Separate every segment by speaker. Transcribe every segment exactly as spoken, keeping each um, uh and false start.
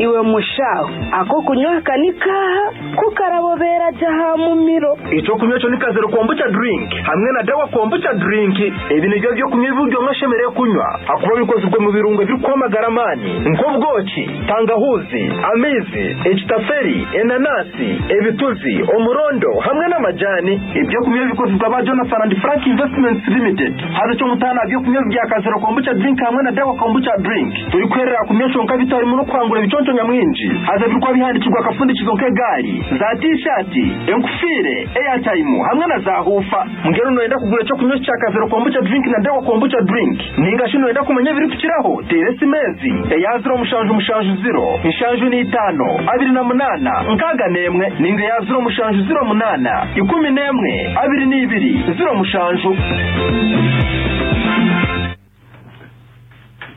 Speaker 1: Iwe mushaho ako kunywa aka ni kaha kukarabobera jaha mumiro.
Speaker 2: Ekyokunywa ekyo ni Kazero Kombucha Drink hamwe na Dawa Kombucha Drink. Ebi nibyo byokunywa ebi omwe ashemereire kunywa, hakuba bikozirwe mu birungo ebirikuhamagara amaani nk'obwoki, tangahuzi, amaizi, ekitaferi, enanasi, ebituzi, omurondo hamwe n'amajani. Ebyokunywa bikozirwe aba Jonathan and Frank Investments Limited. Haza ekyomutaano aha byokunywa bya Kazero Kombucha Drink hamwe na Dawa Kombucha Drink, turikuherera kunywa kyonka bitarimu n'okuhangura ebiconco nyamwingi. Haza birikuba bihandikirwa akafundikizo nk'egaari, za tishati, enkufiire, airtime hamwe na za huufa. Mbwenu noyenda kugura ekyokunywa kya Kazero Kombucha Drink na Dawa Kombucha Drink, ninga shi noyenda kumanya ebirikukiraho, teera esimu ezi: eya ziro mushanju mushanju ziro nshanju n'itaano abiri na munaana nkaaga n'emwe, ninga eya ziro mushanju ziro munaana ikumi n'emwe abiri n'ibiri ziro mushanju.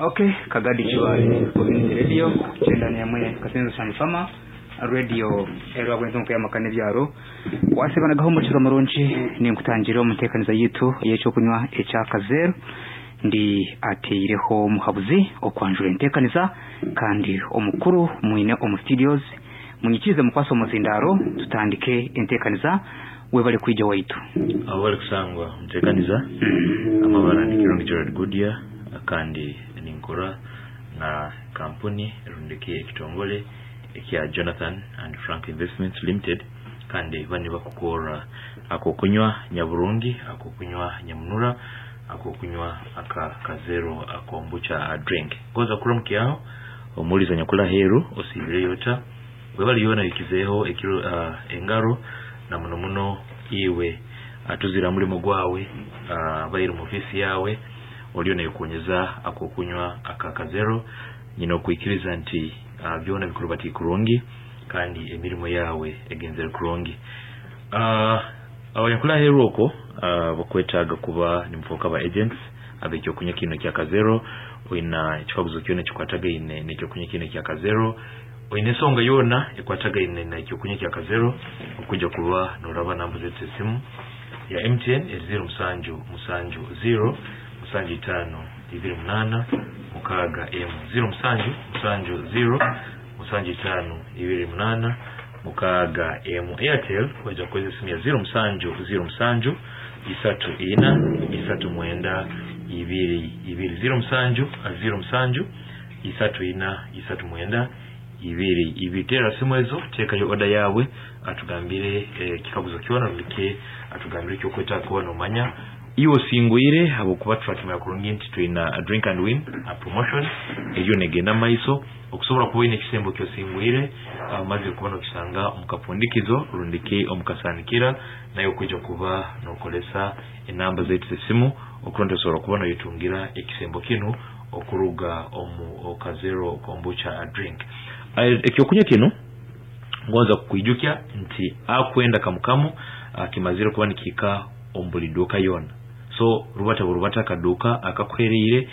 Speaker 3: Okay, Kagadi Kibaale Community Radio kyenda n'emwe Kasenzo Sanfama Radio erwa bwenzo nkuyamaka n'ebyaro wasebanagaho omukiro murungi. Ninkutangira omuteekaniza yitu ey'ekyokunywa ekya Kazero. Ndi ateireho omuhabuzi okwanjura enteekaniza kandi omukuru mwine omu studios. Munyikirize mukwasa omuzindaro tutandike enteekaniza. Webale kwija waitu.
Speaker 4: Abo bari kusangwa muteekaniza amabara ni Kirungi Gerard Goodyear, kandi ninkora na kampuni erundiki ekitongole ekya Jonathan and Frank Investments Limited, kandi bani bakukora akokunywa nyaburungi, akokunywa nyamunura, akokunywa aka Kazero Kombucha Drink. Goza kuramukyaho omuliza nyakula heru osibire yota webali yona ikizeho ekiro uh, engaro na muno muno iwe atuzira mulimo gwawe uh, bayiri mu ofisi yawe oliyo nayikonyeza akokunywa aka Kazero. Nyina okuikiriza nti uh, byona bikurubati kurungi kandi emirimo yawe egenzere kurungi. uh, abanyakula heru oko uh, bakwetaaga kuba nimufoka ba agents abekyokunywa kino kya Kazero. Oina ekikaguzo kyona kikwatagaine n'ekyokunywa kino kya Kazero, oine ensonga yona ekwatagaine n'ekyokunywa kya Kazero, okujja kuba noraba namba zetu esimu ya M T N ziro musanju musanju ziro musanju itaano ibiri munaana mukaaga emu, ziro musanju musanju ziro musanju itaano ibiri munaana mukaaga emu. Airtel wajja kukozesa esimu ya ziro musanju ziro musanju isatu ina isatu mwenda ibiri ibiri, ziro musanju ziro musanju isatu ina isatu mwenda ibiri ibiri. Tera simu ezo, teekayo oda yawe atugambire eh, kikaguzo kyona rulike atugambire ekyokwetaaga kuba nomanya iwe osingwire, habwokuba twakimanya kurungi nti twina a drink and win a promotion eriyo negenda maiso. Okusobola kuba oyine ekisembo kyosingwire amazire kuba nokisanga omukapundikizo rundiki omukasanikira, naye okwijja kuba nokolesa enamba zaitu z'esimu okuronda osobola kuba noyetungira ekisembo kinu okuruga omu Kazero Kombucha Drink. Ekyokunywa kinu ngonza kukwijukya nti akwenda kamukamu kimazire kuba nikika omu buli duuka yona. So rubata burubata akaduuka akakuhereire,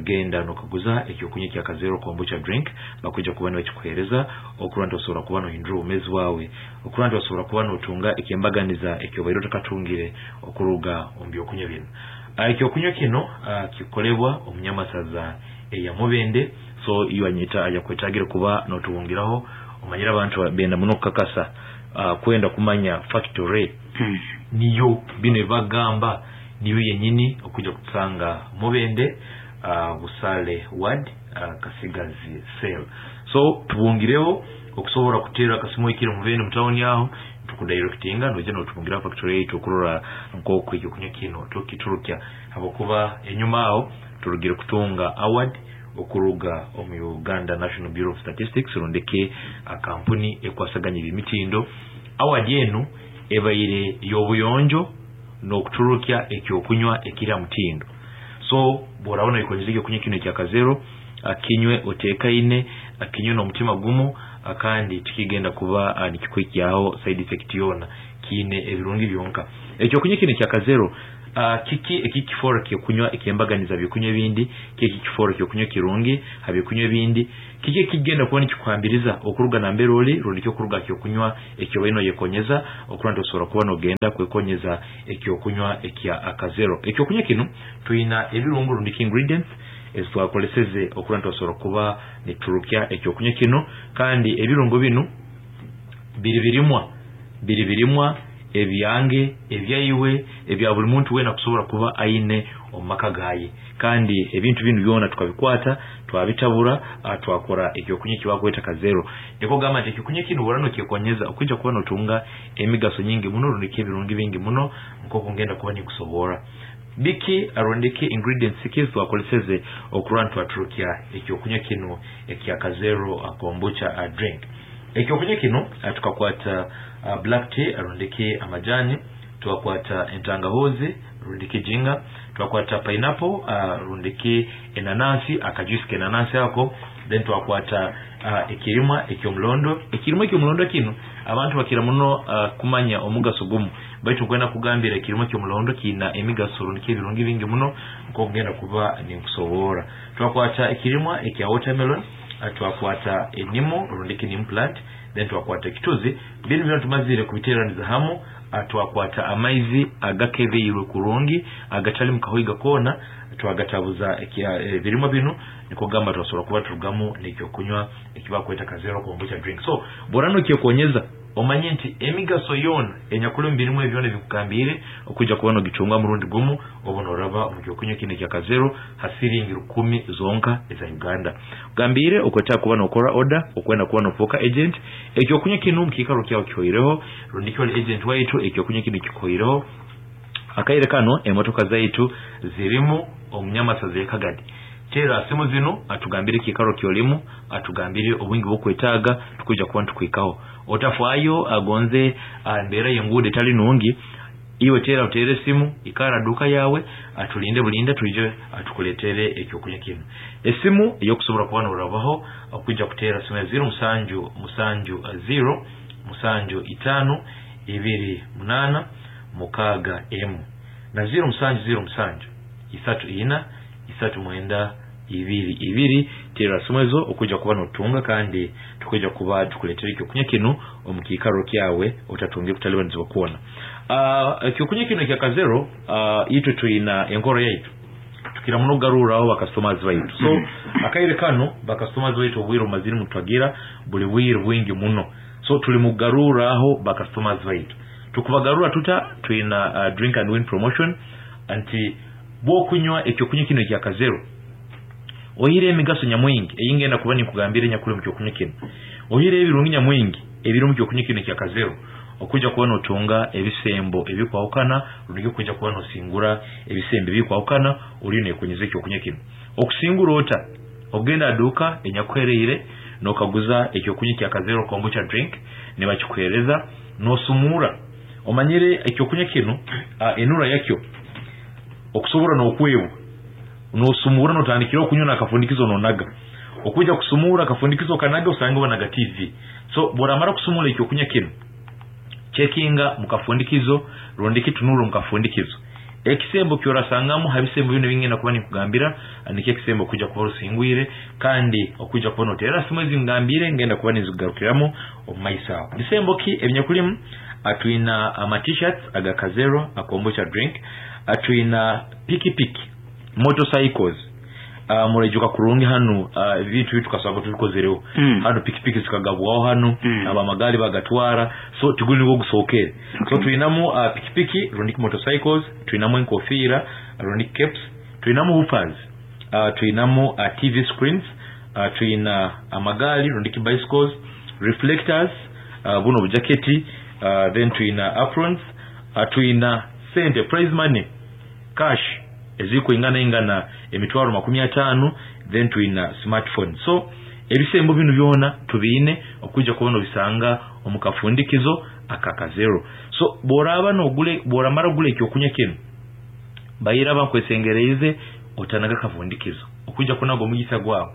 Speaker 4: genda nokaguza ekyokunywa kya Kazero Kombucha Drink, bakwija kuba nibakikuhereza okurora osobola kuba nohindura obumezi bwawe, okurora osobola kuba notunga ekyembaganiza ekyobaire otakatungire okuruga omu byokunywa bino. Ekyokunywa kino kikolebwa omunyamasaza eya Mubende. So iyo anyita ajakwetagire kuba notuwungiraho omanyira abantu benda muno kukakasa uh, kwenda kumanya factory
Speaker 3: hmm.
Speaker 4: niyo bino bagamba niyo yenyini okuja kutsanga Mubende uh, Busale ward uh, Kasigazi cell. So tubungireho okusobola kutera akasimu ekiri Mubende mutawuni aho tukudirectinga noje notubungira factory yitu okurora nk'oku ekyokunywa kino tukiturukya, habwokuba enyuma aho turugire kutunga award okuruga omu Uganda National Bureau of Statistics rundeke akampuni ekwasaganya ebimitindo. Award enu ebaire y'obuyonjo n'okuturukya ekyokunywa ekiri mutindo. So bworabona ikonyeza ekyokunywa kino ekya Kazero, akinywe otekaine, akinywe n'omutima gumu, kandi tikigenda kuba nikikwikyaho side effect yona, kiine ebirungi byonka. Ekyokunywa kino ekya Kazero uh, kiki ekikifora kyokunywa ekyembaganiza byokunywa ebindi, kiki kifora kyokunywa kirungi habyokunywa ebindi, kiki ekigenda kuba nikikuhambiriza okuruga nambere oli rundi kyokuruga kyokunywa ekyo baino yekonyeza okuranda osobola kuba nogenda kwekonyeza ekyokunywa ekya Kazero. Ekyokunywa kino tuyina ebirungo rundi ingredients ezitwakoleseze okura nitubasobora kuba niturukya ekyokunywa kino. Kandi ebirungo binu biri birimwa biri birimwa ebyange ebyaiwe ebya buli muntu wena kusobora kuba aine omu maka gaye. Kandi ebintu binu byona tukabikwata twabitabura, twakora ekyokunywa ekibakweta kazero. Niko gamba nti ekyokunywa kinu bora nokyekonyeza okwijja kuba notunga emigaso nyingi muno rundiki ebirungi bingi muno nk'oku ngenda kuba nikusobora. Biki arondeke ingredients ki twakoleseze okura twaturukia ekyokunywa kino ekya kazero kombucha drink. Ekyokunywa kino tukakwata uh, black tea arondeke amajani, twakwata entangahozi rundike jinga, twakwata pineapple uh, rundike enanasi akajuice kenanasi ako, then twakwata uh, ekirimwa ekyomulondo. Ekirimwa ekyomulondo kino abantu bakira muno uh, kumanya omugaso gumu, baitu kwenda kugambira ekirimwa ekyomulondo kina emigaso rundike ebirungi bingi muno nk'okugenda kuba ninkusobora. Twakwata ekirimwa ekya watermelon, twakwata enimu rundike neem plant, then twakwata ekituzi. Binu byona tumazire kubiteraniza hamu. Twakwata amaizi agakebeirwe kurungi agatali mukahoiga kona, twagatabuza ebirimwa binu, niko gamba twasobora kuba turugamu n'ekyokunywa ekibakweta kazero kombucha drink. So borano kyekonyeza omanye nti emigaso yona enyakuli mu birimwa ebyona ebikugambire okujja kuba nogitunga murundi gumu obu noraba mu kyokunywa kino ekya kazero hasiringi rukumi zonka eza Uganda. Gambire okweta kuba nokora order okwenda kuba nofoka agent. Ekyokunywa kino mukikaro kyawo kihoireho rundiki oli agent waitu ekyokunywa kino kikoireho. Akaire kano emotoka zaitu zirimu omunyamasazi ekagadi. Tera simu zino atugambire kikaro kyolimu, atugambire obwingi bwokwetaaga tukuja kuba ntukwikaho. Otafwayo agonze embeera y'enguudo etali nungi, iwe tera utere simu ikara duka yawe atulinde bulinde tuije atukuletere ekyokunywa kino. Esimu eyokusobola kuba norabaho okuja kutera simu ya zero musanju musanju zero musanju itano ibiri munana mukaga emu na zero musanju zero musanju isatu ina isatu mwenda ibiri ibiri. Tera simu ezo okuja kuba notunga kandi tukuja kuba tukuletera ekyokunywa kino omukikaro kyawe otatunge kutalibanizibwa kuona. Uh, ekyokunywa kino ekya kazero uh, itwe tuina enkoro yaitu tukira muno garuraho bakastomers baitu. So mm -hmm. akaire kano bakastomers baitu obwiro maziri mutwagira buli bwiro bwingi muno, so tuli mugaruraho bakastomers baitu. Tukubagarura tuta tuina uh, drink and win promotion anti bwokunywa ekyokunywa kino ekya kazero ohire emigaso nyamwingi eyingenda kuba nikugambire nyakuli mu kyokunywa kino, ohire ebirungi nyamwingi ebiri mu kyokunywa kino ekya kazero okuja kuba notunga ebisembo ebikwawukana runigi kuja kuba nosingura ebisembo ebikwawukana uri nekunyeza ekyokunywa kino. Okusingura ota ogenda aduka enyakuhereire nokaguza ekyokunywa kya kazero kombucha drink nebakikuhereza nosumura omanyire ekyokunywa kino uh, enura yakyo okusobora nokwebwa nosumura notandikira okunywa nakafundikizo nonaga okuja kusumura akafundikizo kanaga usanga banaga T V. So boramara kusumura ekyokunywa kino chekinga mukafundikizo rondiki tunuro mukafundikizo ekisembo kyorasangamu habisembo bino bingenda kuba nikugambira niki ekisembo kuja kuba rusingwire kandi okuja kuba notera simu ezingambire ngenda kuba nizigarukiramo omumaisa. Bisembo ki ebinyakulimu? Atwina ama t-shirts aga kazero akombucha drink, atwina piki piki motorcycles, uh, murajuka kurungi hanu ebintu uh, bitukasaba tubikozereho mm. hanu pikipiki zikagabwaho hanu mm. abamagali bagatwara, so tiguli niwo gusokere. Okay. So tuinamu uh, pikipiki rundiki motorcycles, tuinamu enkofira rundiki caps, tuinamu hoopers, uh, tuinamu uh, T V screens, uh, tuina amagali rundiki bicycles, reflectors, uh, buno bujaketi, uh, then tuina aprons, uh, tuina sente prize money cash eziko ingana ingana emitwaro makumi atano, then tuina smartphone. So ebisembo binu byona tubiine okuja kubona bisanga omukafundikizo akakazero. So boraba nogule boramara gule ekyokunywa kino bayira bankwesengereze otanaga kafundikizo okuja kunago omugisa gwawe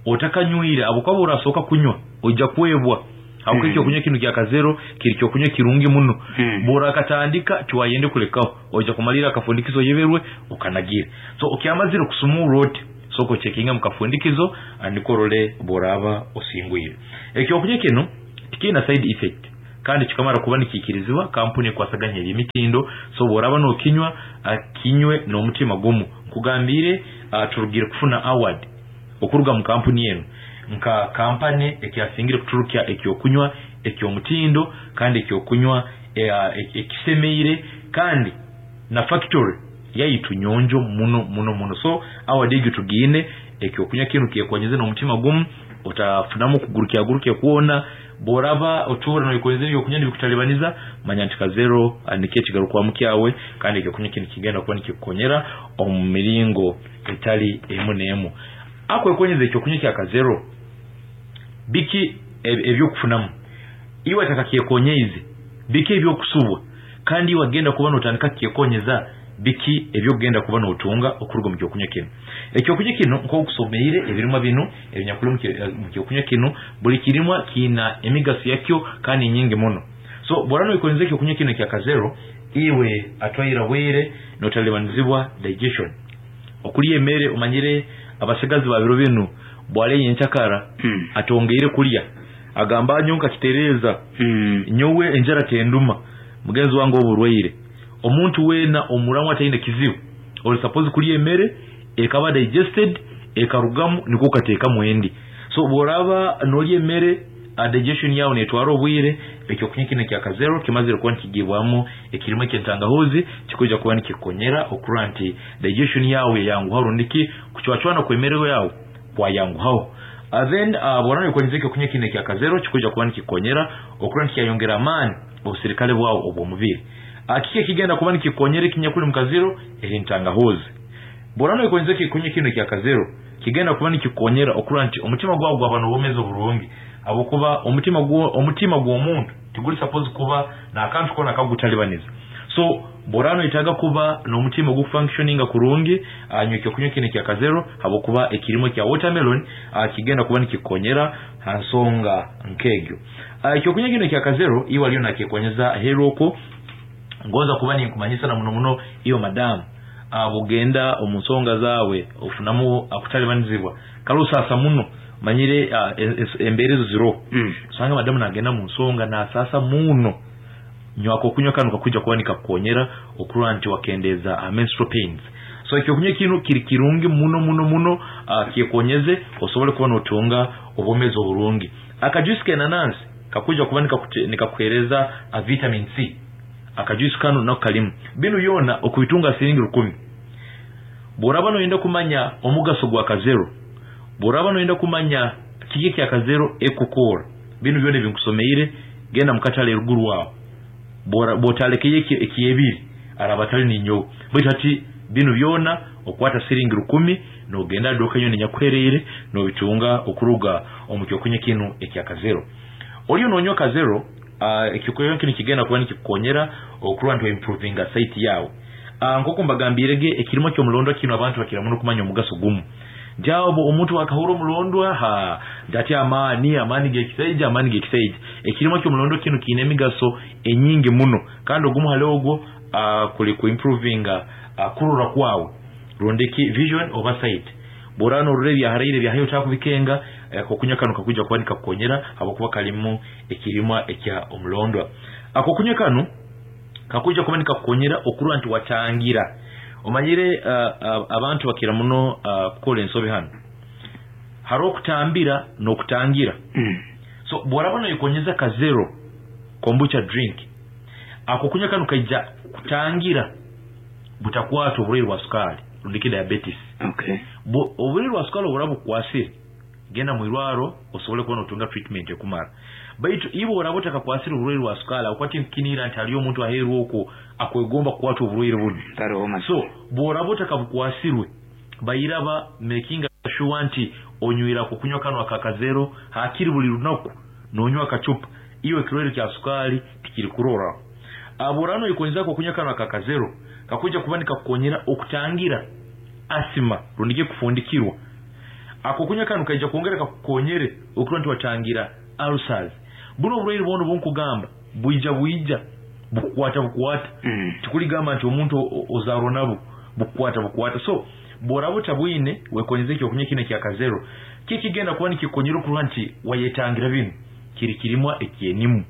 Speaker 4: otakanywire abo urasoka kunywa ojja kwebwa mm. ekyokunywa kino kya kazero kiri kyokunywa kirungi muno mm. bora akatandika tiwayende kulekaho ojja kumalira akafundikizo yeberwe okanagire. So okyamazire kusumura oti soko checkinga mukafundikizo anikorole boraba osingwire. Ekyokunywa kino tikina side effect kandi kikamara kuba nikikirizibwa kampuni kwasaganya emitindo. So boraba nokinywa kinywe n'omutima gumu nkugambire uh, turugire kufuna award okuruga mu kampuni enu nka kampani ekyasingire kuturukya ekyokunywa ekyomutindo kandi ekyokunywa ekisemeire kandi na factory yaitu nyonjo muno muno muno. So award egyo tugiine ekyokunywa kinu kyekonyeze n'omutima gumu otafunamu kugurukya gurukya kuona boraba otura noikonyeze ebyokunywa nibikutalibaniza manya nti Kazero nikyo ekigarukwamu kyawe kandi ekyokunywa kinu kigenda kuba nikikukonyera omu miringo etali emu n'emu. Akwekonyeza ekyokunywa kya Kazero biki ebyokufunamu iwe atakakyekonyeize biki ebyokusubwa kandi iwe agenda kuba notandika kyekonyeza biki ebyokugenda kuba notunga okuruga mu kyokunywa kino. Ekyokunywa kino nk'okusomeire ebirimwa bino ebinyakuli mu kyokunywa kino buli kirimwa kiina emigaso yakyo kandi nyingi muno. So bworano ikonyeza ekyokunywa kino kya Kazero iwe atwaira bwire notalibanizibwa digestion okulya emere. Omanyire abasigazi babiro binu bwale yenchakara
Speaker 3: mm.
Speaker 4: atongeire kulya agamba nyonka kitereza
Speaker 3: mm.
Speaker 4: nyowe enjara tenduma mugenzi wange oburwaire. Omuntu wena omuramu ataine kizibu oli suppose kulya emere ekaba digested ekarugamu niko kateeka mwendi. So boraba nolya emere digestion yawe netwara obwire ekyokunywa kino kya Kazero kimazire kuba nikigibwamu ekirimu ekyentangahuzi kikuja kuba nikikonyera okurora nti digestion yawe yanguha rundiki kuchwachwana kwemere yawe kwayanguhaho. Uh, then uh, borana ikonyeza ekyokunywa kino kya Kazero kikuja kuba nikikonyera okurora nti kyayongera amaani obusirikale bwawe obw'omubiri. Akike kigenda kuba nikikonyera ekinyakuli mu Kazero eri ntangahuzi. Borana ikonyeza ekyokunywa kino kya Kazero kigenda kuba nikikonyera okurora nti omutima gwawe gwaba n'obwomezi oburungi abukuba omutima gwo omutima gw'omuntu tiguli suppose kuba n'akantu kona kagutalibaniza. So borano itaga kuba n'omutima ogufunctioninga kurungi anywa ekyokunywa kino kya Kazero habwokuba ekirimo kya watermelon kigenda kuba nikikonyera ha nsonga nkegyo. Ekyokunywa kino kya Kazero iwe aliyo nakikonyeza heroko ngonza kuba ninkumanyisa na muno muno iyo madamu abugenda omu nsonga zawe ofunamu akutalibanizibwa kalusasa muno manyire embere ezo ziro
Speaker 3: mm.
Speaker 4: Usanga madamu nagenda mu nsonga nasasa muno nywako kunywa kanu kakuja kuba nikakukonyera okurora nti wakendeza menstrual pains. So ekyokunywa kino kiri kirungi muno muno muno uh, kyekonyeze osobole kuba notunga obwomezi oburungi. Akajuice k'enanansi kakuja kuba nikakuhereza a vitamin C. Akajuice kano nako kalimu binu yona okubitunga siringi rukumi. Boraba noyenda kumanya omugaso gwa Kazero, boraba noyenda kumanya kiki kya Kazero ekukora binu byona ebinkusomeire genda mukatale eruguru wawo bora botalekeye ekiyebiri arabatali ninyo baitu ati binu byona okwata siringi rukumi nogenda doka yone nyakwereire nobitunga okuruga omu kyokunywa kino ekya Kazero. Oliyo nonywa Kazero uh, ekyokunywa kino kigenda kuba nikikukonyera okurora nti improvinga sight yawe. Uh, nk'oku mbagambirege ekirimo ky'omulondwa kino abantu bakira muno kumanya omugaso gumu jabo omuntu akahura omulondwa ha ndati amaani amaani gekisaija amaani gekisaija. Ekirimo ky'omulondwa kino kiine emigaso enyingi muno kandi ogumu hali ogwo uh, kuli ku improvinga uh, kurora kwawe rondeki vision oba sight. Borano orore byaharaire byahayo takubikenga akokunywa kano kakuja kuba nikakukonyera habwokuba kalimu ekirimwa ekya omulondwa. Akokunywa kano kakuja kuba nikakukonyera okurora nti watangira. Omanyire uh, uh, abantu bakira muno uh, kukola ensobi hano hariho okutambira n'okutangira.
Speaker 3: mm.
Speaker 4: So bworaba noikonyeza Kazero kombucha drink akokunywa kano kaija kutangira butakwata oburwaire bwa sukali rundiki diabetes.
Speaker 3: Okay.
Speaker 4: Oburwaire bwa sukali oburaba bukukwasire genda mwirwaro osobole kuba notunga treatment ekumara. Baitu ibo oraba otakakwasire oburwaire bwa sukali akwati nkinira nti haliyo omuntu aheru okwo akwegomba kukwata oburwaire buno. So bworaba otakabukwasirwe bairaba making sure nti onywira kukunywa kano aka Kazero hakiri buli lunaku nonywa akachupa iyo ekirwaire kya sukali tikiri kurora. Aborano ikonyeza kukunywa kano aka Kazero kakuja kuba nikakukonyera okutangira asima rundike kufundikirwa. Ako kunywa kano kaija kuongera kakukonyere okurora nti watangira ulcers. Buno oburwaire bwono bunkugamba buija buija bukukwata bukukwata.
Speaker 3: mm.
Speaker 4: Tikuligamba nti omuntu ozarwa nabo bukukwata bukukwata. So boraba otabwine wekonyeze ekyokunywa kino kya Kazero kikigenda kuba nikikonyera okurora nti wayetangira binu kiri kirimwa ekyenimu.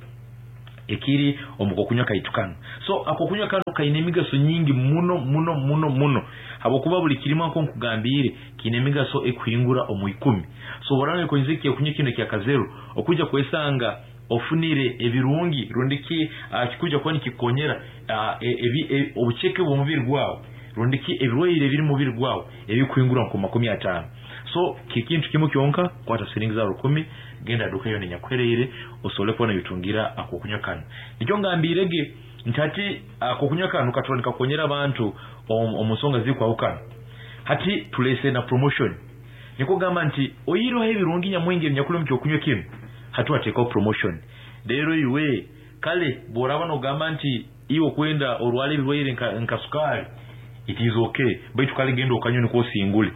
Speaker 4: Ekiri omukokunywa kaitu kano. So akokunywa kano kaine emigaso nyingi muno muno muno muno. Habwokuba buli kirimo nko nkugambire kiine emigaso ekuhingura omu ikumi. So borana konyeze ekyokunywa kino kya Kazero okuja kwesanga ofunire ebirungi rundiki uh, kikuja kuba nikikonyera uh, ebi e, obucheke bw'omubiri gwawe rundiki ebirwaire ebiri mu mubiri gwawe ebikuhingura nko makumi ataano. So kikintu kimwe kyonka kwata siringi za rukumi genda duka yo nenyakwereire osobole kubona bitungira akokunywa kano. Nikyo ngambirege ntati akokunywa kano katona kakonyera abantu omusonga zikwahukana. Hati tulese na promotion. Niko gamba nti oyiroho ebirungi nyamwingi nyakulu mukyokunywa kino hatu ateka promotion. Rero iwe kale boraba no gamba nti iwe kwenda orwale ebirwaire nka, nka sukari it is okay baitu kale genda okanywa niko singule.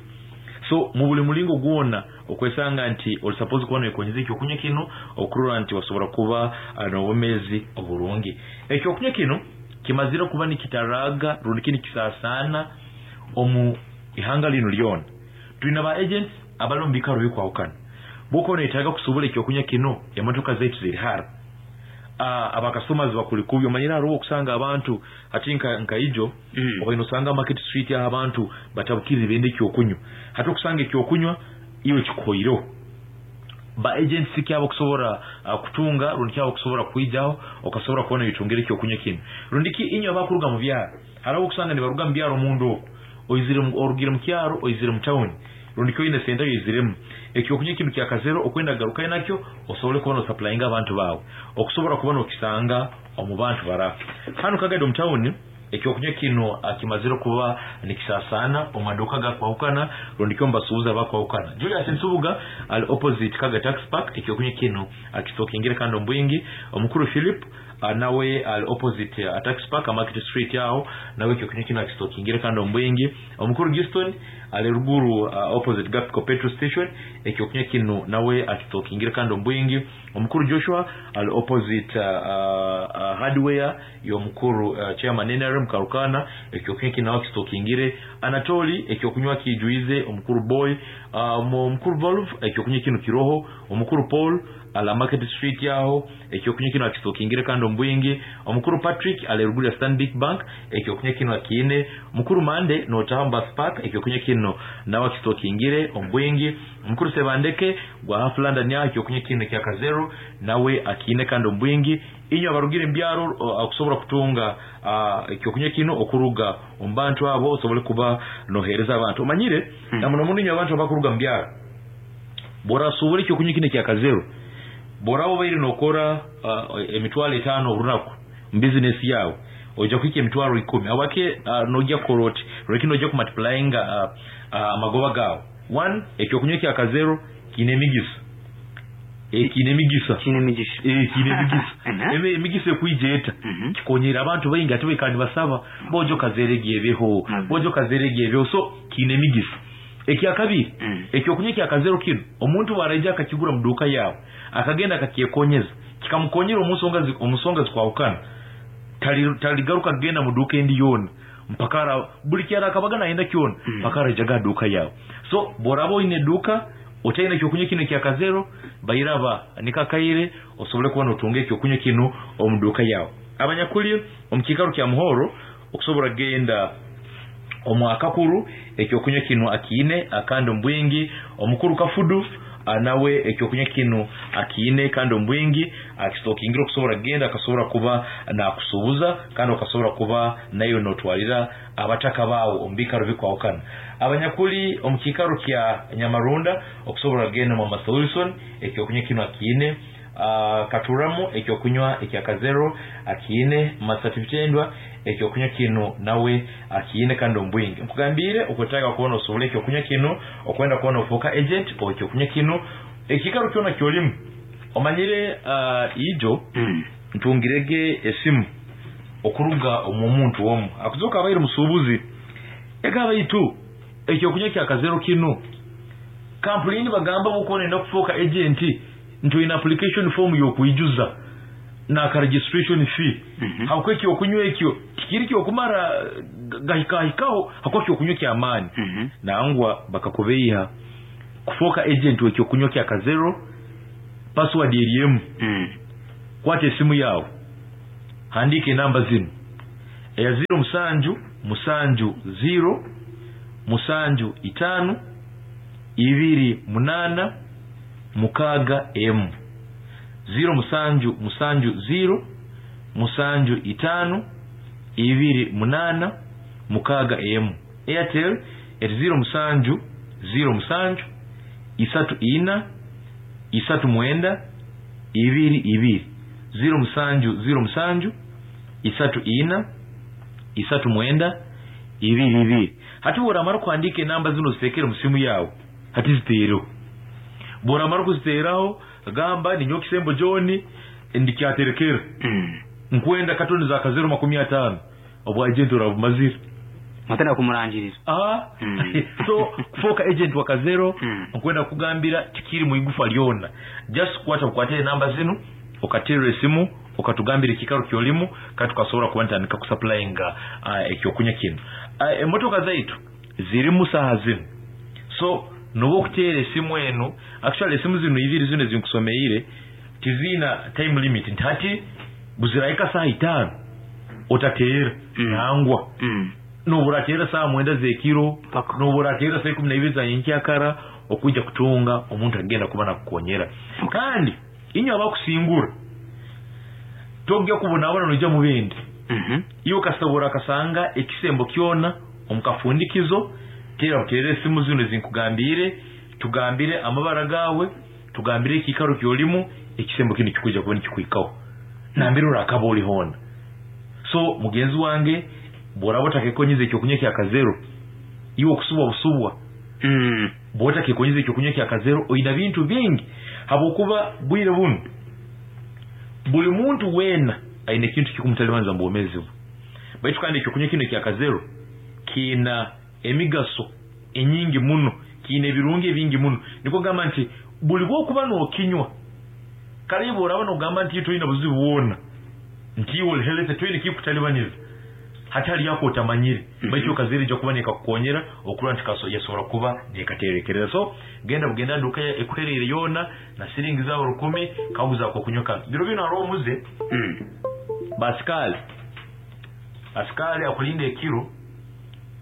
Speaker 4: So mu buli mulingo gwona okwesanga nti oli suppose kuba nekonyeza ekyokunywa kino okurora nti wasobora kuba n'obumezi oburungi. Ekyokunywa kino kimazira kuba nikitaraga rundi nikisasana omu ihanga lino lyona. Tulina ba agents abali mu bikaro bikwahukana. Boko netaga kusobora ekyokunywa kino emotoka zaitu ziri hara. Uh, abakastomers bakuli kubyo manyira ruwo kusanga abantu ati nka nka ijo mm. oba inosanga market street ya abantu batabukirira bende ekyokunywa. Hati okusanga ekyokunywa iwe kikoiro. Ba agents kyabo kusobora uh, kutunga rundi kyabo kusobora kuijaho okasobora kubona bitungire ekyokunywa kino. Rundi ki inyo abakuruga mu byaro. Harawo kusanga nibaruga mu byaro mundu oko. Oizire orugire mu kyaro oizire mu town. Rundi kyo ine senta yoiziremu. Ekyokunywa kino kya Kazero okwenda garuka nakyo osobole kubona supplyinga abantu bawe. Okusobora kubona okisanga omu bantu bara. Hano Kagado mu town ekyokunywa kino akimazire kuba nikisasana omaduka gakwahukana rundi kyo mbasuuza bakwahukana. Julius Nsubuga al opposite Kaga Tax Park ekyokunywa kino akitokingire kando mbwingi. Omukuru Philip nawe al opposite uh, Tax Park Market Street yao nawe ekyokunywa kino akitokingire kando mbwingi. Omukuru Giston ale ruguru uh, opposite Gapco petrol station ekyokunywa kino nawe akitokingire kando mbwingi. Omukuru Joshua al opposite uh, uh, hardware yomukuru uh, chairman N R M Karukana ekyokunywa kino akitokingire. Anatoli ekyokunywa kijuize omukuru Boy uh, omukuru Valve ekyokunywa kino kiroho. Omukuru Paul ala Market Street yaho ekyokunywa kino akitokingire kando mbwingi. Omukuru Patrick ale ruguru ya Stanbic Bank ekyokunywa kino akine. Omukuru Mande no Tamba Spark ekyokunywa kino nawe akitokingire ombwingi. Omukuru Sebandeke gwa Half London yaho ekyokunywa kino kya Kazero nawe akine kando mbwingi. Inyo abarugire mbyaro akusobora kutunga ekyokunywa kino okuruga ombantu abo osobole kuba nohereza abantu omanyire hmm. Na muno muno inyo abantu abakuruga mbyaro bora sobole ekyokunywa kino kya Kazero bora obaire nokora uh, emitwalo etano orunaku mu business yawe ojja kwika emitwalo ikumi awake uh, nojja koroti reki nojja ku multiplying uh, uh, amagoba gawe. One ekyokunywa kya Kazero kine emigisa ekine emigisa
Speaker 3: kine emigisa
Speaker 4: eh kine emigisa eme emigisa ekwijeta kikonyera abantu baingi ate kandi basaba bojo Kazere gyebeho bojo Kazere gyebeho. So kine emigisa. Ekyakabiri mm. Ekyokunywa kya Kazero kino omuntu baraija akakigura mu duka yawe akagenda akakyekonyeza kikamukonyera omusonga omusonga zikwahukana taligaruka kugenda mu duka endi yona mpaka buli kyara akabaga naenda kyona mpaka mm. Arajaga duka yawe. So borabo ine duka otaina ekyokunywa kino kya Kazero bayiraba nikakaire osobole kubona otunge ekyokunywa kino omu duka yawe. Abanyakuli omukikaro kya Muhoro okusobora genda omwakakuru ekyokunywa kino akiine akando mbwingi. Omukuru Kafudu nawe ekyokunywa kino akiine kando mbwingi akitokingira okusobora genda akasobora kuba nakusubuza kandi okasobora kuba nayo notwalira abataka bawo ombikaro bikwahukana. Abanyakuli omukikaro kya Nyamarunda okusobora genda Mama Wilson ekyokunywa kino akiine. Uh, Katuramu ekyokunywa ekya Kazero akiine. Masatibitendwa ekyokunywa kino nawe akiine kando mbwingi. Nkugambire okutaka kuona osobole ekyokunywa kino okwenda kuona ofoka agent o ekyokunywa kino ekikaro kyona kyolimu omanyire uh, ijo mm. Ntungirege esimu okuruga omu muntu omu akuzoka abaire musubuzi egaba itu ekyokunywa kya Kazero kino kampuni bagamba bukone ndakufoka agent nto ina application form yokuijuza na ka registration fee. Mm -hmm. Hakweki okunywa ekyo tikiri kyo kumara gahika hikaho hakweki okunywa kya amani. Mm -hmm. Nangwa bakakubeiha kufoka agent wekyo kunywa kya Kazero password eriemu. Mm. Kwate simu yao Handika enamba zinu eya ziro musanju musanju ziro musanju itano ibiri munana mukaga emu ziro musanju musanju ziro musanju itano ibiri munana mukaga emu. Airtel eri ziro musanju ziro musanju isatu ina isatu mwenda ibiri ibiri ziro musanju ziro musanju isatu ina isatu mwenda ibiri ibiri. Hati bworamara kuhandika enamba zino zitekere mu simu yawe, hati ziteereho. Bworamara kuziteeraho gamba ninyowe Kisembo John ndikyaterekera
Speaker 3: Mm.
Speaker 4: nkwenda katoni za kazero makumi ataano obwa agent orabumazire
Speaker 3: Matana kumurangirira.
Speaker 4: Ah.
Speaker 3: Mm.
Speaker 4: So kufoka agent wa kazero
Speaker 3: Mm.
Speaker 4: nkwenda kugambira tikiri mu igufa lyona, just kwata bukwate enamba zinu okaterera esimu okatugambira ekikaro kyolimu kandi tukasobola kuba ntandika kusupplyinga uh, ekyokunywa kino. uh, emotoka zaitu zirimu saha zinu, so noba okuteera esimu eno. Actually esimu zino ibiri zino ezinkusomeire tiziina time limit nti hati buzirahika saha itaano otateera
Speaker 3: Mm.
Speaker 4: nangwa
Speaker 3: Mm.
Speaker 4: noburateera saha mwenda zekiro
Speaker 3: Paka.
Speaker 4: noburateera saa ikumi na ibiri za nyenkyakara okwijja kutunga omuntu agenda kuba nakukonyera. Kandi inywe abakusingura togya kubonabona noija mubindi
Speaker 3: Mhm.
Speaker 4: iwe kasobora kasanga ekisembo kyona omukafundikizo teera buteera esimu zino ezinkugambire, tugambire amabara gawe, tugambire ekikaro kyolimu, ekisembo kino kikuja kuba nikikwikaho nambire orakaba oli hoona. So mugenzi wange bworaba otakekonyiza ekyokunywa kya kazero, iwe okusubwa busubwa
Speaker 3: Mm.
Speaker 4: bwotakekonyiza ekyokunywa kya kazero oyina bintu bingi, habwokuba bwire buno buli muntu weena ayina ekintu kikumutalibanza mu bwomeezi bwe. Baitu kandi ekyokunywa kino ekya kazero kiina emigaso enyingi muno, kiina ebirungi ebingi muno. Nikwo gamba nti buli bwokuba n'okinywa kale iwe oraba n'ogamba nti toyina buzibu bwona, nti iwe oli healthy toyina kikutalibaniza, hati hali ako otamanyire.
Speaker 3: Mhm.
Speaker 4: Baitu okazero ijja kuba nekakukonyera okurora nti kaso yasobora kuba nekaterekereza. So genda bugenda nduka ekuhereire yoona na siringi zawe rukumi kaguza ako kunywa kano. Biro bino hariho omuze
Speaker 3: Mm.
Speaker 4: basikali asikali akulinda ekiro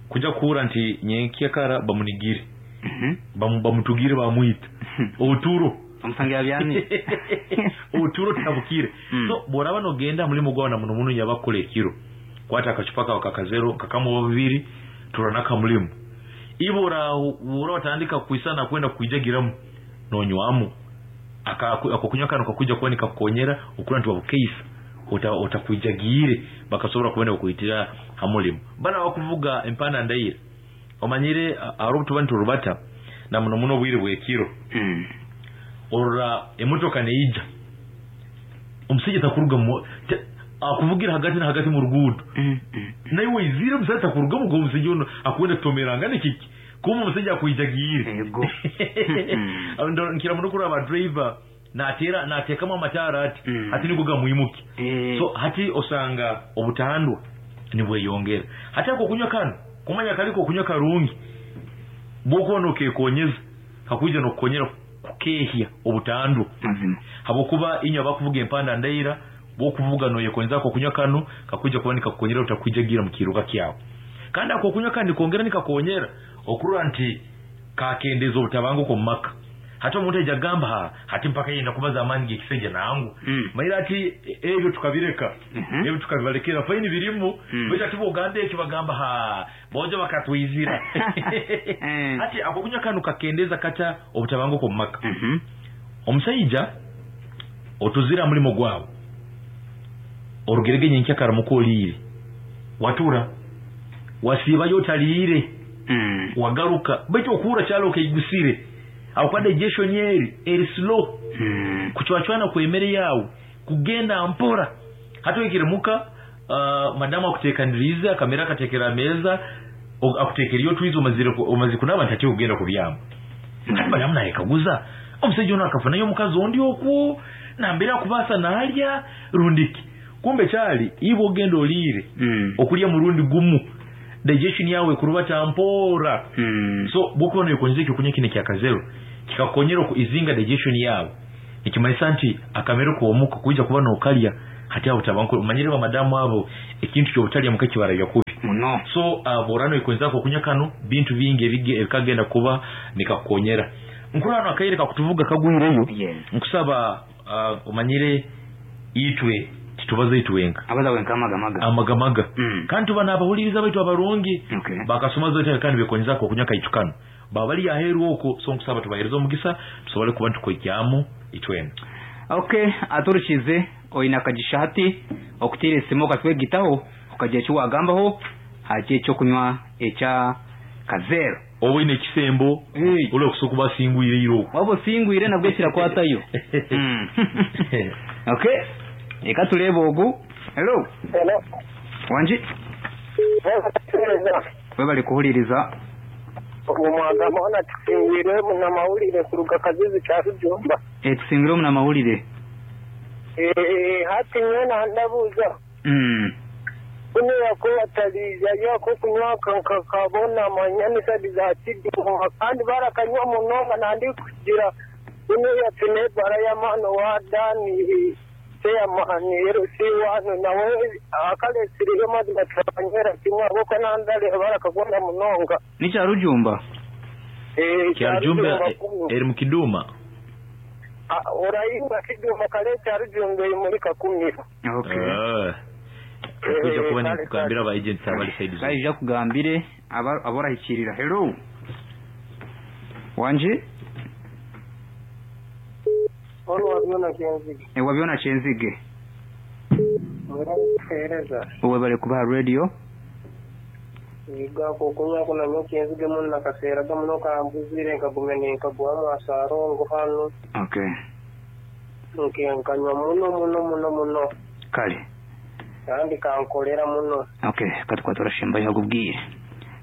Speaker 4: kuja kuhura nti nyenkyakara bamunigire
Speaker 3: Mhm.
Speaker 4: bamu- bamutugire bamwita obuturo
Speaker 3: Omusange yabyamye.
Speaker 4: obuturo tabukire.
Speaker 3: Mm.
Speaker 4: So bworaba nogenda mulimu gwawe na muno muno yabakukola ekiro, kwata akacupa kawe kakazero kakamu bubiri tura nakamulimu ibo ora watandika kuisana kwenda kuijagiramu nonywamu ako kunywa kano kakuja kuba nikakukonyera okura nti wabukeisa otakwijagiire bakasobola kubona okuitira hamulimu. Bana bakuvuga empanda ndaire omanyire hariho obutuba niturubata na muno muno obwire bw'ekiro
Speaker 3: Mm.
Speaker 4: orora emotoka neija omusajja takuruga mu te- akuvugira hagati na hagati mu ruguudo
Speaker 3: Mm. Mm.
Speaker 4: naye waizire omusajja takurugamu gwe omusajja ono akwenda kutomerangana kiki kuma omusajja akwijagiire.
Speaker 3: Ego.
Speaker 4: Ndo- nkira muno kuraba driver nateera nateekamu amataara ati
Speaker 3: Mm.
Speaker 4: hati nigo gamwimuke.
Speaker 3: Eh.
Speaker 4: So hati osanga obutandwa nibweyongera. Hati ako kunywa kano kumanya kaliko okunywa karungi bwokuba nokekonyeza kakwija nokukonyera kukehya obutandwa
Speaker 3: Mazima.
Speaker 4: habwokuba inywe abakuvuga empanda ndaira bwokuvuga noyekonyeza ako kunywa kano kakwija kuba nikakukonyera otakwijagira mu kiruka kyawe. Kandi ako kunywa kandi kongera nikakonyera okurora nti kakendeza obutabanguko mu maka. Hati omuntu aija agamba ha hati mpaka yenda kubaza amaani g'ekisajja nangu
Speaker 3: Mm.
Speaker 4: maira ati e- ebyo tukabireka
Speaker 3: Mhm.
Speaker 4: ebyo tukabibalekera faini birimu
Speaker 3: Mm.
Speaker 4: baitu ati bwogamba ekyo bagamba ha bojo bakatwizira.
Speaker 3: Eh.
Speaker 4: Hati ako kunywa kano kakendeza kata obutabanguko mu maka.
Speaker 3: Mhm.
Speaker 4: Omusajja otuzira mulimo gwawe orugerege nyenkyakara muko oliire watura wasiibayo otaliire
Speaker 3: Mm.
Speaker 4: wagaruka baitu okuhura kyalo okaigusire aho digestion eri eri slow
Speaker 3: Mm.
Speaker 4: kuchwachwana kwemere yawe kugenda mpora. Hati oikire muka uh, madamu akutekanirize akamera akatekera ameza o- akutekereyo otwize omazire ku- omazire kunaba nti ati okugenda kubyama. Hati madamu nayekaguza omusajja ono akafunayo omukazi ondi okwo nambere akubaasa nalya rundiki kumbe kyali iwe ogenda oliire
Speaker 3: Mm.
Speaker 4: okulya murundi gumu digestion yawe ekurubata mpora.
Speaker 3: Mm.
Speaker 4: So bwokuba noyekonyeza ekyokunywa kino ekyakazero kikakukonyera oku izinga digestion yawe nikimanyisa nti akamere k'omuka kuija kuba nokalya Hati abo tabanko manyire ba madamu abo ekintu kyobutalya mukakibara byakubi
Speaker 3: muno.
Speaker 4: So uh, borano ikonzako kunywa kano bintu bingi ebige ebikagenda kuba nikakukonyera. Nkurano akaire kakutuvuga kagwireyo.
Speaker 3: Yes.
Speaker 4: Nkusaba uh, omanyire itwe titubaze itwenka
Speaker 3: abaza wenka amagamaga
Speaker 4: amagamaga
Speaker 3: Mm.
Speaker 4: kandi tuba nabahuliriza baitu abarungi
Speaker 3: Okay.
Speaker 4: bakasoma zote kandi bekonyezako kunywa kaitukano babali aheru oko so nkusaba tubahereza omugisa tusobole kuba ntukwekyamu itwena.
Speaker 3: Okay, aturukize oyina akagisha hati okutira esimu okatwegitaho okagira eki wagambaho haki ekyokunywa ekya kazero
Speaker 4: oba ekisembo
Speaker 3: Hey.
Speaker 4: uli okusoka basingwire iro
Speaker 3: waba osingwire nabwo kirakwatayo. Mm. Okay, reka turebe ogu. Hello.
Speaker 5: Hello.
Speaker 3: Wanji we bari kuhuliriza
Speaker 5: Omwagamba ona tusingwire munamawulire kuruga Kazizi kya Rujumba.
Speaker 3: eh tusingire omunamawulire.
Speaker 5: Eh, hati nyena ndabuuza
Speaker 3: Mm.
Speaker 5: kuno yakubataliza yako kunywa kakabona amanyanisadi za kiduma kandi barakanywa munonga nandi kugira kuno yafine bara y'amano wa dani seyamani erusi wanu nawe akalesiriyo mazima turanywera kimwe aboko nandale barakagunda munonga.
Speaker 3: Ni Rujumba.
Speaker 5: Eh,
Speaker 4: kya Rujumba eri mukiduma.
Speaker 5: Ah, orayimba kiduma kale kya Rujumba eri muri Kakumiro.
Speaker 3: Okay.
Speaker 4: Ah. Kuja kuba nikugambira aba agents abali side zo.
Speaker 3: Kaija kugambire aba aborahikirira. Hello. Wanji
Speaker 5: Ono wabyona kyenzige.
Speaker 3: e wabyona kyenzige.
Speaker 5: Murahereza.
Speaker 3: Uwe bari kubaha radio.
Speaker 5: Yiga kukunywa kuna nyo kyenzige muno nakaseeraga muno kambuzire nkagumya ninkaguhamu asarongo hano.
Speaker 3: Okay.
Speaker 5: Nke nkanywa muno muno muno muno.
Speaker 3: Kale.
Speaker 5: Kandi kankolera muno.
Speaker 3: Okay, katukwa turashimba yakubwiye.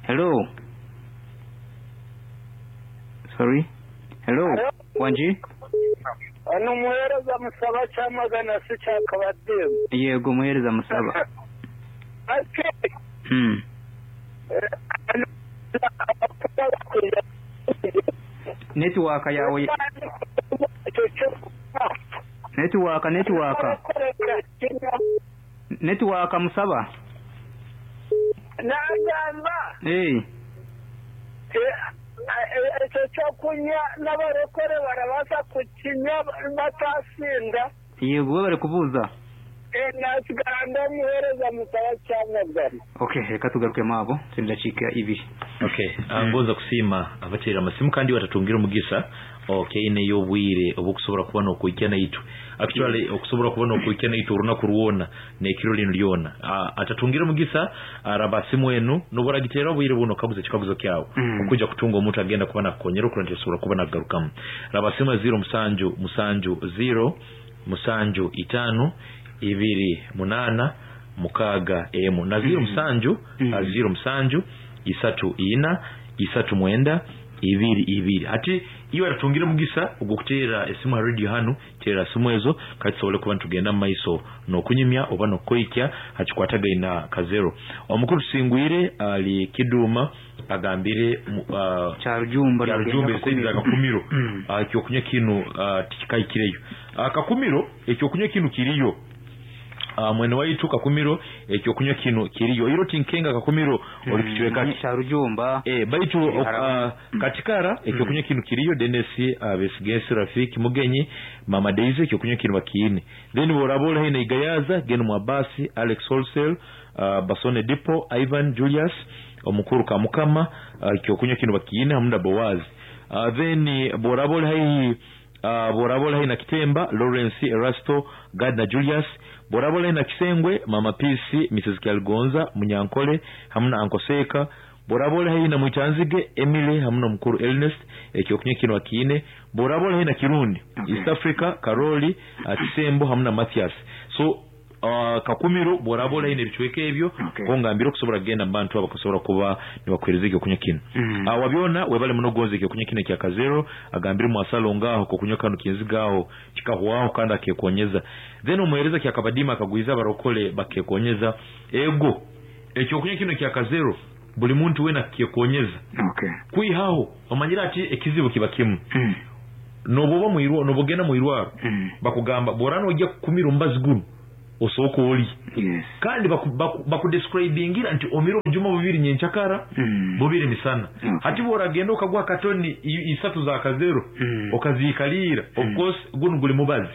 Speaker 3: Hello. Sorry. Hello.
Speaker 5: Hello.
Speaker 3: Wanji
Speaker 5: Ano muhereza musaba kyamagana si kyakabademu.
Speaker 3: yego muhereza musaba.
Speaker 5: Ati
Speaker 3: Hmm. Network yawe network network network musaba.
Speaker 5: Nagamba
Speaker 3: Eh.
Speaker 5: ekyo kyokunywa n'abarokore barabaza kukinywa batasinda.
Speaker 3: Yego bari kubuza.
Speaker 5: Nasigara muhereza musaba kyamagana.
Speaker 3: Okay, reka tugaruke mabo tindachika ibiri.
Speaker 4: Okay, angoza kusima abatera amasimu kandi batatungira omugisa. Okay, neyo obwire obukusobola kuba nokuikya naitu. Actually okusobola kuba nokuikya naitu orunaku rwona nekiro lino lyona. Uh, atatungira omugisa araba simu enu noboragitera obwire buno kaguze kikaguzo kyawo.
Speaker 3: Mm.
Speaker 4: Okuja kutunga omuntu agenda kuba nakukonyera okurondera sobola kuba nagarukamu. Raba simu zero musanju musanju zero musanju itano ibiri munana mukaga emu na zero
Speaker 3: Mm.
Speaker 4: musanju
Speaker 3: Mm.
Speaker 4: mm. zero musanju isatu ina isatu mwenda ibiri ibiri. Ati iwe atungire mugisa ogukutera esimu ha radio hanu tera simu ezo kati sobole kuba ntugenda mu maiso nokunyumya oba nokoikya hakikwatagaina kazero. Omukuru tusingwire ali kiduma agambire uh,
Speaker 3: Kya Rujumba
Speaker 4: kya Rujumba esaizi akakumiro.
Speaker 3: Mm.
Speaker 4: Uh, ekyokunywa kinu uh, tikikaikireyo. Akakumiro ekyokunywa kinu kiriyo. Uh, mwene waitu Kakumiro ekyokunywa kino kiriyo iro tinkenga Kakumiro mm. oli kichweka
Speaker 3: kya Rujumba.
Speaker 4: eh baitu uh, katikara ekyokunywa kino kiriyo Dennis uh, Besigesi Rafiki Mugenyi Mama Daisy ekyokunywa kino bakiine. Then borabola hina Igayaza Gen Mwabasi Alex Wholesale uh, Basone Dipo Ivan Julius omukuru Kamukama ekyokunywa uh, kino bakiine hamunda Boaz. Uh, then borabola hii Uh, borabola hina Kitemba Lawrence Erasto Gardner Julius borabola hina Kisengwe Mama Pisi Missus Kyalgonza Munyankole hamuna Ankoseka borabola hina Mwitanzige Emily hamuna mukuru Ernest ekyokunywa kino akiine borabola hina Kirundi.
Speaker 3: Okay.
Speaker 4: East Africa Karoli uh, Kisembo hamuna Mathias. So uh, Kakumiro borabola hina ebichweka ebyo.
Speaker 3: Okay.
Speaker 4: Kongambira okusobola kugenda mu bantu abakusobola kuba nibakwereza ekyokunywa kino.
Speaker 3: Mm.
Speaker 4: Uh, wabyona webale muno gonze ekyokunywa kino ekya kazero agambire mwasalo ngaho kokunywa kano kinzigaho kikahwaho kandi akekonyeza. Then omuhereza kya kabadima akagwiza abarokole bakekonyeza ego ekyokunywa kino kya kazero buli muntu wena kekonyeza.
Speaker 3: Okay.
Speaker 4: Kwihaho omanyira ati ekizibu kiba kimu.
Speaker 3: Mm.
Speaker 4: Noboba muirwa nobogenda muirwaro
Speaker 3: Mm.
Speaker 4: bakugamba borano ojja kukumira ombazi guno
Speaker 6: osooka olye
Speaker 3: Yes.
Speaker 6: kandi bakudescribingira nti omire obujuma bubiri nyenkyakara
Speaker 3: Mm.
Speaker 6: bubiri misana
Speaker 3: Okay.
Speaker 6: hati bworagenda okagwa katoni i- isatu za kazero
Speaker 3: Mm.
Speaker 6: okaziikalira of course guno guli mubazi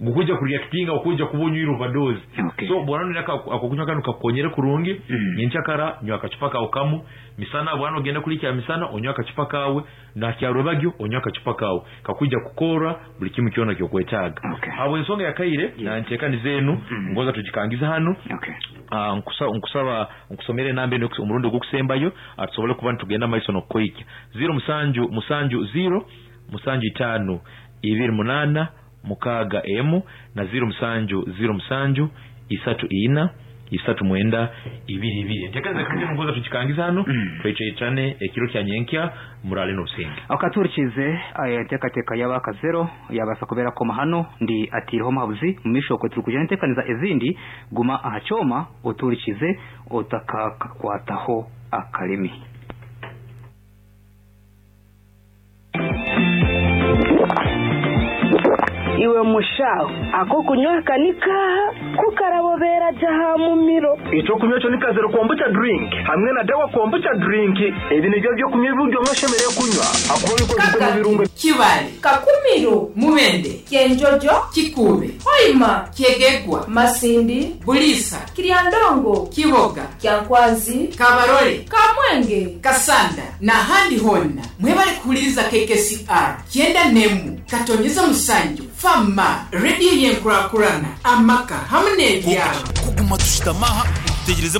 Speaker 6: gukuja kureactinga okuja kuba onywire overdose
Speaker 3: Okay.
Speaker 6: so bwana akokunywa kanu kakukonyere kurungi
Speaker 3: Mm.
Speaker 6: nyenkyakara nywa akacupa kawe kamu misana bwana ogenda kulikya misana onywa akacupa kawe nakyarwebagyo onywa akacupa kawe kakuija kukora buli kimu kyona kyokwetaaga
Speaker 3: Okay.
Speaker 6: habwe ensonga yakaire na nteekaniza enu
Speaker 3: Mm.
Speaker 6: ngoza tugikangiza hanu
Speaker 3: Okay.
Speaker 6: Ah, nkusa- nkusaba nkusomere enamba eno omurundi ogwokusembayo ah, tusobole kuba nitugenda maiso nokukoikya ziro musanju musanju ziro musanju itaano ibiri munaana mukaaga emu na ziro musanju ziro musanju isatu ina isatu mwenda ibiri ibiri enteekaniza kandi ngoza tugikangiza hano
Speaker 3: Mm.
Speaker 6: tweicaicane ekiro kya nyenkya murale n'obusinge
Speaker 3: akaturikize enteekateeka y'abakazero yabaasa kubeera koma hano ndi atiireho omuhabuzi mu maisho okwe turi kugira enteekaniza ezindi guma aha kyoma oturikize otakakakwataho akarimi
Speaker 1: iwe mushaho ako kunywa kanikaha kukarabobera jaha mumiro
Speaker 2: icyo kunywa cyo ni kazero kombucha drink hamwe na dawa kombucha drink ibi nibyo byo kunywa ibiryo mwashemereye kunywa akuba bikozwe mu birungo
Speaker 7: Kibale,
Speaker 8: Kakumiro,
Speaker 7: Mubende,
Speaker 8: Kyenjojo,
Speaker 7: Kikuube,
Speaker 8: Hoima,
Speaker 7: Kyegegwa,
Speaker 8: Masindi,
Speaker 7: Bulisa,
Speaker 8: Kiryandongo,
Speaker 7: Kiboga,
Speaker 8: Kyankwanzi,
Speaker 7: Kabarole,
Speaker 8: Kamwenge.
Speaker 7: Kasanda n'ahandi honna mwebale kuwuliriza K K C R kyenda n'emu katonyeza musanju fama rediyo y'enkurakurana amaka hamwe n'ebyalo
Speaker 9: kuguma tushitamaha tutegereze